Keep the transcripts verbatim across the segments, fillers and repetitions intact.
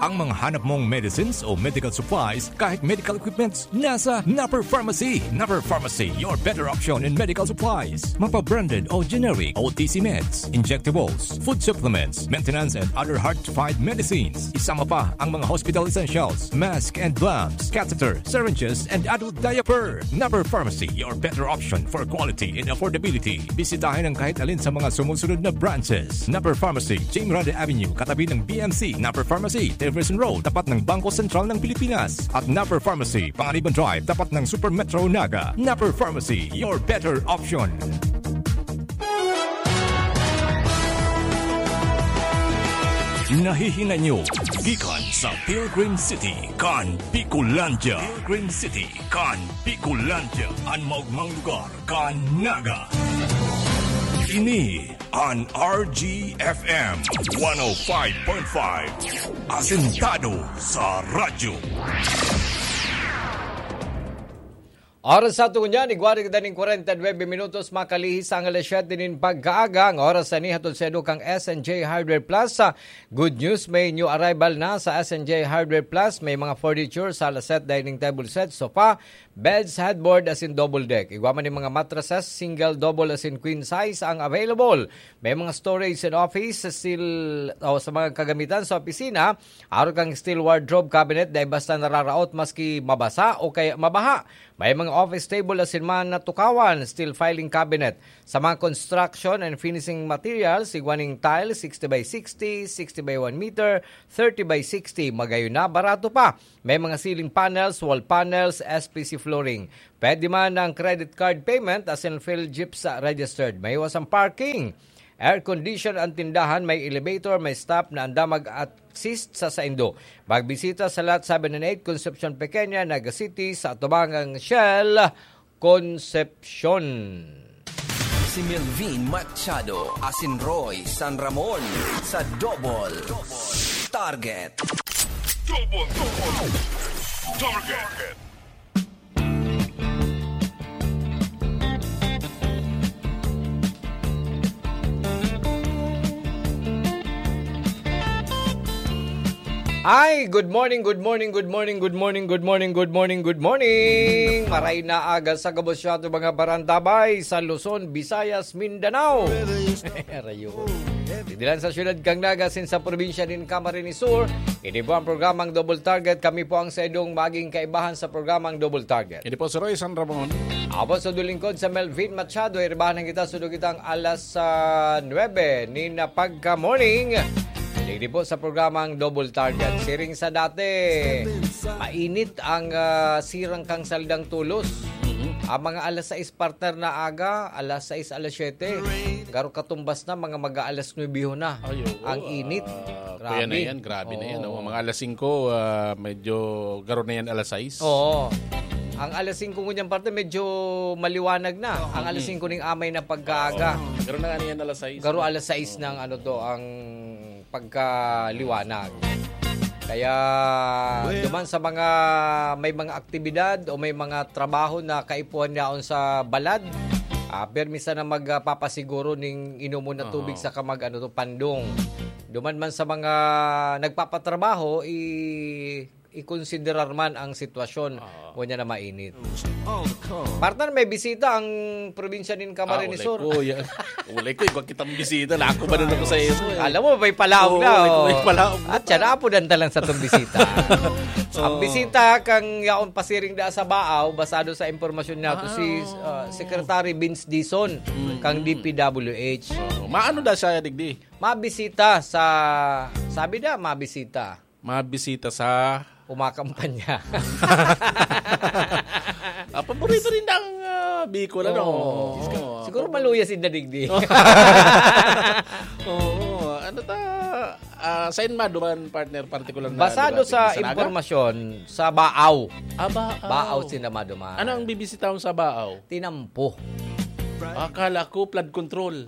Ang mga hanap mong medicines o medical supplies, kahit medical equipments, nasa Napper Pharmacy. Napper Pharmacy, your better option in medical supplies. Mapa-branded o generic, O T C meds, injectables, food supplements, maintenance and other hard-to-find medicines. Isama pa ang mga hospital essentials, mask and gloves, catheter, syringes, and adult diaper. Napper Pharmacy, your better option for quality and affordability. Bisitahin ang kahit alin sa mga sumusunod na branches. Napper Pharmacy, Jing Grande Avenue, katabi ng B M C. Napper Pharmacy, Jefferson Road, tapat ng Bangko Sentral ng Pilipinas. At Napper Pharmacy, Panganiban Drive, tapat ng Super Metro Naga. Napper Pharmacy, your better option. Nahihinay nyo gikan sa Pilgrim City, kan Bicolandia. Pilgrim City, kan Bicolandia. An maogmang lugar kan Naga. Ini an R G F M one oh five point five. Asentado sa radyo. Oras sa aton ngunyan, igwa na kita nin kwarenta y nuebe minutos, makalihis ang alas siyete nin pagkaaga. Ang oras na ini hatod sa inyo kan S N J Hardware Plus. Sa good news, may new arrival na sa S N J Hardware Plus. May mga furniture, sala set, dining table set, sofa, beds, headboard, asin double deck. Igwa man nin mga mattresses, single, double, asin queen size ang available. May mga storage and office, still, o sa mga kagamitan sa opisina, arog kan steel wardrobe cabinet, dai basta nararaot maski mabasa o kaya mabaha. May mga office table asin man na tukawan, steel filing cabinet. Sa mga construction and finishing materials, igwa nin tile, sixty by sixty, sixty by one meter, thirty by sixty, magayon na, barato pa. May mga ceiling panels, wall panels, S P C flooring. Pwede man ang credit card payment asin Philgipsa registered. May iwas ang parking. Air condition ang tindahan, may elevator, may staff na andam mag-assist sa saindo. Magbisita sa Lot seven and eight, Concepcion Pequeña, Naga City, sa atubangang Shell, Concepcion. Si Melvin Machado asin Roy San Ramon sa Double Target. Double, double. Target. Ay, good morning, good morning, good morning, good morning, good morning, good morning, good morning. Maray na aga sa gabos siya ato mga barantabay sa Luzon, Visayas, Mindanao. Rayo. Didilan sa siyudad kang Naga asin sa probinsya nin Camarines Sur. Ini po ang programang Double Target. Kami po ang saindong maging kaibahan sa programang Double Target. Ini po si Roy San Ramon. Ako po sa dulingkod sa Melvin Machado. Iribahan kita, sudog kitang alas ah, nuebe nin pagka-morning. Digdi po sa programang Double Target. Siring sa dati, mainit ang ah, sirang kang saldang tulos. Mhm. Ang mga alas sais partner na aga, alas sais, alas siyete. Garo katumbas na, mga mag-aalas nuebe na. Ay, oo, Ang init. ah, Grabe. Kuya na yan, grabe na yan, Oo. oh. Mga alas singko, ah, medyo garo na yan alas sais. Oo. Ang alas singko ngunyan parte, medyo maliwanag na. Oo. Ang alas Mm. singko ning amay na pagkaaga. Oo. Garo na nga na yan alas sais, Garo no? alas sais Oo. ng ano to, ang pagkaliwanag. Kaya Well, duman sa mga may mga aktibidad o may mga trabaho na kaipuhan yaon sa balad, ah, permi sana magpapasiguro ning inomon na tubig Aha. saka mag, ano to, pandong. Duman man sa mga nagpapatrabaho, i-, ikonsiderar man ang sitwasyon Oo. ngunyan na mainit. Partner, may bisita ang probinsya nin Camarines Sur. Ah, ulay ko, yan. Ulay ko, igwa kitang bisita. Lako ba na ako sa iyo, eh? Alam mo, may palaog Oo, na, ulay ko, oh. may palaog na. At siya, naapudan ta lang sa tong bisita. Ang Oo. bisita kang yaon pasiring da sa Baaw, basado sa impormasyon nato, Ah, si, oo. uh, Secretary Vince Dizon, Mm, kang mm. D P W H. Oo. Maano da siya, digdi? Mabisita sa, sabi na, mabisita. Mabisita sa Umakampanya. Ah, paborito rin ng, ah, Bicol, ano? Oo. Oo. Siguro maluya si Dadigdi. Oo. Ano ta, ah, saan maduman, partner, partikular na Basado lugar? sa Sa Naga? impormasyon, sa Baaw. Ah, Baaw. Baaw sila maduman. Ano ang bibisitahon sa Baaw? Tinampo. Akala ko flood control.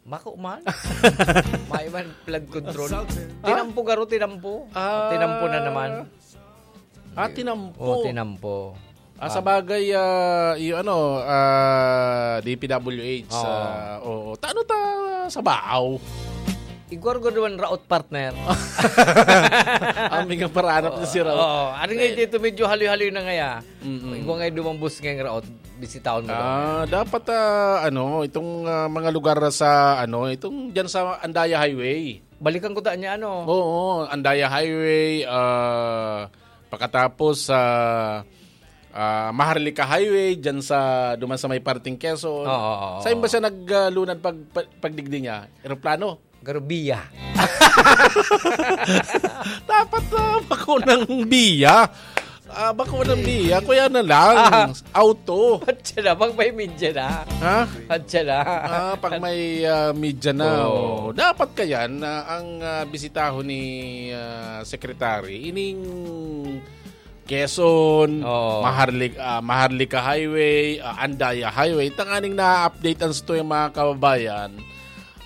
Mako man. May man flood control. Tinampo, garo, tinampo. Ah. Tinampo na naman. Ah, tinampo. Oh, tinampo. Ah, sa bagay, ah, yung ano, ah, D P W H, Oo. ah, oo. Ta-, ano ta sa Baaw? Igwar ko duman raot, partner. Ang mga paranap na si Raot. Oo, ano nga, dito medyo haloy-haloy na ngaya. Mm-mm. Igwa nga duman bus ngayong raot, bisitahon mo daw. Ah, dapat, ah, ano, itong, ah, mga lugar sa, ano, itong dyan sa Andaya Highway. Balikan ko ta niya, ano? Oo, Andaya Highway, ah, pakatapos sa, ah, Maharlika Highway, dyan sa, duman sa may parting Quezon. Oo, oo, Saan ba oo. siya naglunad pag, pag, pagdigdi niya? Eroplano? Garubiya. Dapat, ah, bako ng biya. Ah, bako ng biya. Kuya na lang. Ah. Auto. At siya na, pag may media na. Ha? At siya na. Ah, pag may, ah, media na, Oo. oh. Dapat kaya na ang, ah, bisitahon ni, ah, Secretary, ining Quezon, Oo. Maharlik-, ah, Maharlika Highway, ah, Andaya Highway, tanganing na-update ang story, mga kababayan.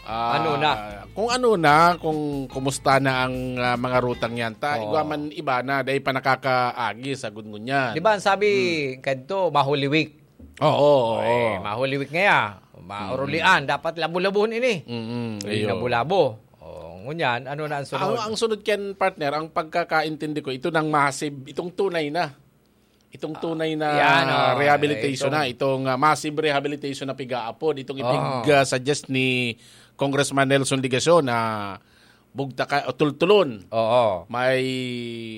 Ah, Ano na? kung ano na, kung kumusta na ang, ah, mga rutang yan. Ta, Oo. igwa man iba na, dahil pa nakakaagi sa gungun yan. Di ba, ang sabi, Hmm. kadto, ma-Holy Week. Oo, oo. Eh, ma-Holy Week ngaya. Maurulian. Mm. Dapat labo-labohon ini. Mm, Uy, ayun. labo-labo. Oh, ngunyan, ano na ang sunod? Ang, ang sunod ken, partner, ang pagkakaintindi ko, ito nang massive, itong tunay na. Itong Ah, tunay na yan, oh, rehabilitation ito. na. Itong, ah, massive rehabilitation na piga-apod. Itong Oh. ipig-, ah, suggest ni Congressman Nelson Legacion na bugtaka o tultulon. Oo. May,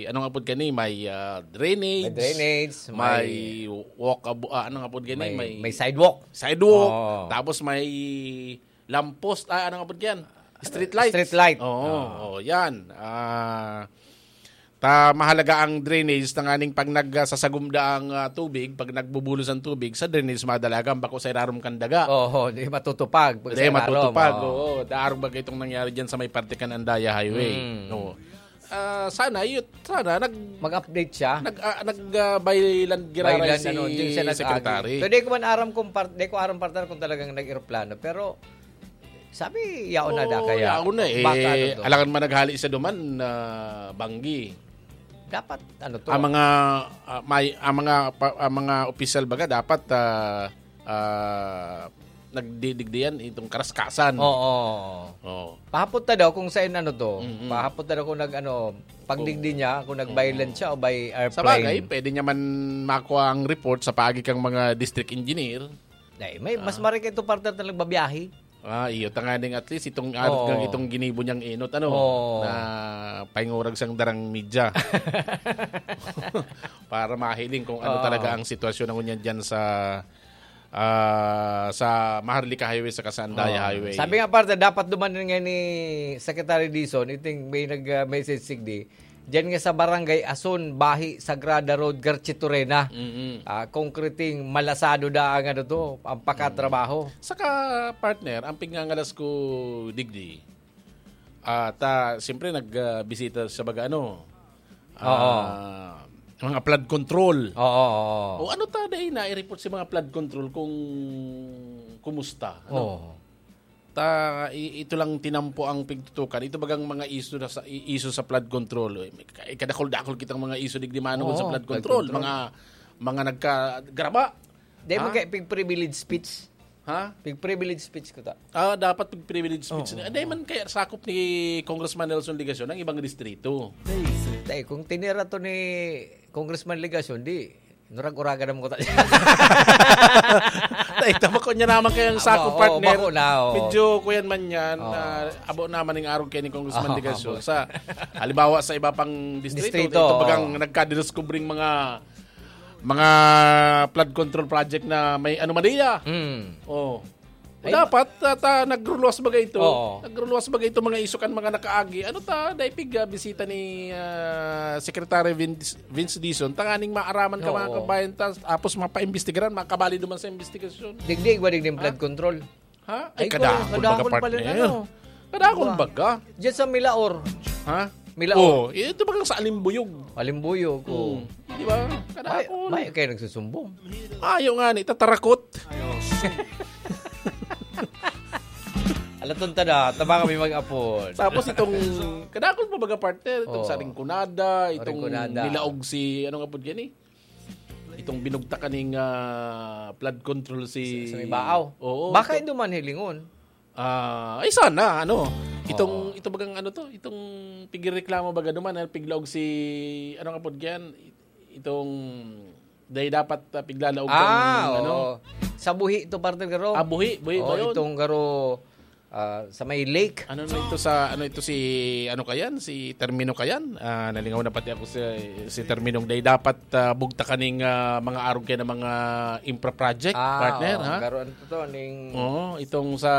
anong apod kani? May, ah, drainage. May drainage, May may walkable, ah, anong apod kani? May, May may sidewalk. sidewalk. Oo. Tapos may lamppost, ah, anong apod yan? Street light. Street light. Oo, Ah. oo, yan. Ah, ta, mahalaga ang drainage, tanganing pag nagsasagumda ang, ah, tubig, pag nagbubulos ang tubig, sa drainage madalagan, bako sa irarom kan daga. Oo, di matutupag. Pag Di sa irarom, matutupag, oo. oo. Daarog baga itong nangyari dyan sa may parte kan Andaya Highway. Mm. Oo. Ah, sana, yun, sana, nag-, Mag-update siya. nag-, ah, nag, ah, by land giraray By land, si ano, di siya nag-agi. Secretary. Pero di ko man aram kung par-, di ko aram, partner, kung talagang nag-eroplano. Pero, sabi, yaon na Oo, da kaya. yaon na eh. Baka ano to? Alangan man naghali siya duman na banggi. Dapat, ano to? Ang mga, ah, may, ang mga pa-, ang mga opisyal baga dapat, ah, ah, nagdidigdiyan itong karaskasan. Oo. Oo. Pahapot na daw kung saan ano to. Mm-mm. Pahapot na daw kung nag-ano, pagdigdi Oo. niya, kung nag-by Oo. land siya o by Sa bagay, airplane. pwede niya man makuha ang report sa paagi kang mga district engineer. Ay, may, mas Ah. marika ito, partner, na nagbabiyahe. Ah, iyo, tanganing at least itong, ah, Oo. itong ginibo niyang enot, ano, Oo. na paingurag siyang darang media. Para mahiling kung ano Oo. talaga ang sitwasyon na ngunyan dyan sa, ah, sa Maharlika Highway saka sa Andaya Oo. Highway. Sabi nga, partner, dapat duman nga ni Secretary Dizon, iting may nag, ah, message sigdi, diyan nga sa Barangay Ason, Bahi, Sagrada Road, Garchitorena. Mm-mm. Ah, konkreting malasado na ang ano to, ang pakatrabaho. Mm. Saka, partner, ang pigngangalas ko digdi, ah, ta, siyempre, nag, ah, bisita sa baga, ano, Oo. ah, mga flood control. Oo, oo, oo. O ano ta, dai na i-report sa mga flood control kung kumusta, ano? Oo. Ta, i-, ito lang tinampo ang pigtutukan. Ito bagang mga iso na sa, i-, iso sa flood control. Eh, may ka-, kadakol-dakol kitang mga iso digdi manungod sa Oo, flood flood control. control. Mga, mga nagkagraba. Dai man Ha? kaya pig-privilege speech. Ha? Pig-privilege speech ko ta. Ah, dapat pig-privilege speech Oo. na. Dai man kaya sakop ni Congressman Nelson Legacion ang ibang distrito. Dai, kung tinira to ni Congressman Legacion, di, nurag-uragan naman ko ta. Dai, tama ko niya naman kayang Aba, sakop, oo, partner. bako na, oo. Medyo kuyan man yan, Oo. ah, abo naman yung arog kay ni Congressman Oo, Legacion. abo. Sa, halimbawa, sa iba pang distrito, Distrito, ito bagang oo. nagkadinuskubring mga, mga flood control project na may anomalya. Mm. Oh. Ay, Dapat, ta, ta, nagruluwas bagay ito. Oo. Nagruluwas bagay ito, mga isukan, mga nakaagi. Ano ta, dai pig, ah, bisita ni, ah, Secretary Vince, Vince Dizon, tanganing maaraman ka, mga Oo. kabayan, ta, tapos mapaimbestigaran, makabali duman sa investigasyon. Digdig ba, digdig Ha? flood control? Ha? Ay, Ay, kadakol kadakol baga, pala partner. na, no? Kadakol Diba? baga. Diyan sa Milaor. Ha? Milaor. Oh, ito bagang sa Alimbuyog. Alimbuyog, oh. Hmm. Di ba? May, Kadakol. may kayo nagsusumbong. Ayaw nga ni, tatarakot. Alaton ta na, tama kami mag-apod. Tapos itong, kadakol pa baga, partner, itong Oo. sa Rinconada, itong Rinconada. nilaog si, anong apod yan eh? Itong binugtak kaning, ah, flood control si Sa, sa may Baaw. Oo, Baka ito. ito man hilingon. Ah, ay sana, ano, itong, Oo. ito bagang ano to, itong pigreklamo baga duman, ah, piglaog si, ano nga pod yan, itong, dahil dapat ah, piglalaog Ah, ng, ano, oo. Sa buhi ito, partner, garo. Ah, buhi, buhi ba Oo, yun? Itong garo, ah, sa may lake. Ano na ito sa, ano ito si, ano kayan, si Termino kayan? Ah, nalingaw na pati ako si, si Terminong day. Dapat ah, bugta kaning ah, mga arog kayo ng mga infra project, Ah, partner, oo, ha? Garo, ano to, ning... Oo, itong sa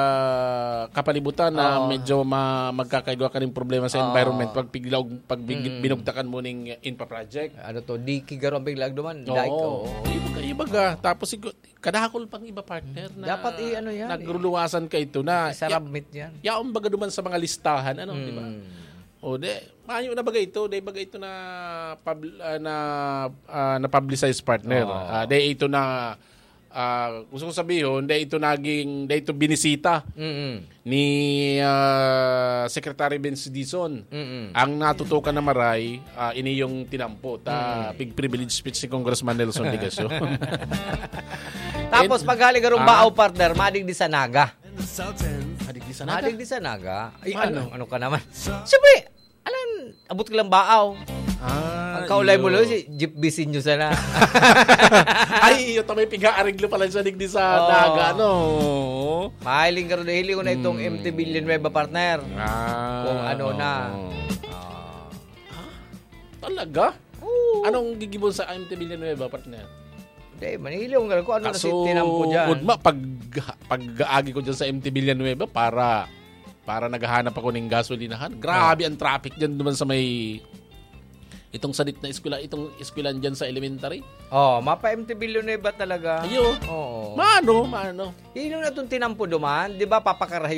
kapalibutan na Oo. medyo ma- magkakaigwa ka ng problema sa Oo. environment pag piglaog, pag big- Mm. binugtakan mo ning infra project. Ano to, diki garo ang piglaog duman. Oo. Dike, oo. Iba ka, iba ka. Tapos igo- kadahakol pang iba, partner, na Dapat i-, ano yan, nagruluwasan ka ito na Isarabmit yan. ya- yaon baga duman sa mga listahan, ano, di ba? Mm. O de, mayo na baga ito, de baga ito na pub- ah, na ah, na publicize, partner. Oo. Ah, de ito na ah, gusto kong sabihin, de ito naging, de ito binisita Mm-mm. ni ah, Secretary Vince Dizon. Mm-mm. Ang natutukan na maray, ah, ini yung tinampo. Ta, Mm. big privilege speech ni Congressman Nelson Legacio. Tapos And- paghali garong Ah. baaw, partner, madigdi sa Naga. Madigdi sa Naga? Madigdi sa Naga. Ay, Paano? ano, ano ka naman? Siyempre, alam, abot ka lang baaw. Ah, Ang kaulay mo iyo. lang, si Jeep Bisinyo sana. Ay, iyo, tamay piga-ariglo pala siya digdi sa Oo. Naga, no? Mahiling ka rin, hiling ko na itong Hmm. M T Villanueva, partner. Ah, Kung ano na. oo. Ah. Talaga? Oo. Anong gigibon sa M T Villanueva, partner? Hindi, manihili ko nga kung ano na si Kaso, tinampo dyan. Udma, pag, pag-aagi ko dyan sa M T Villanueva para, para naghahanap ako ng gasolinahan, grabe ang traffic dyan naman sa may, itong sadit na eskwela, itong eskwelahan dyan sa elementary. Oh, mapa M T Villanueva talaga. Ayo. Oo. Mano, mano. Ilong na itong tinampo duman, di ba, papakarahayo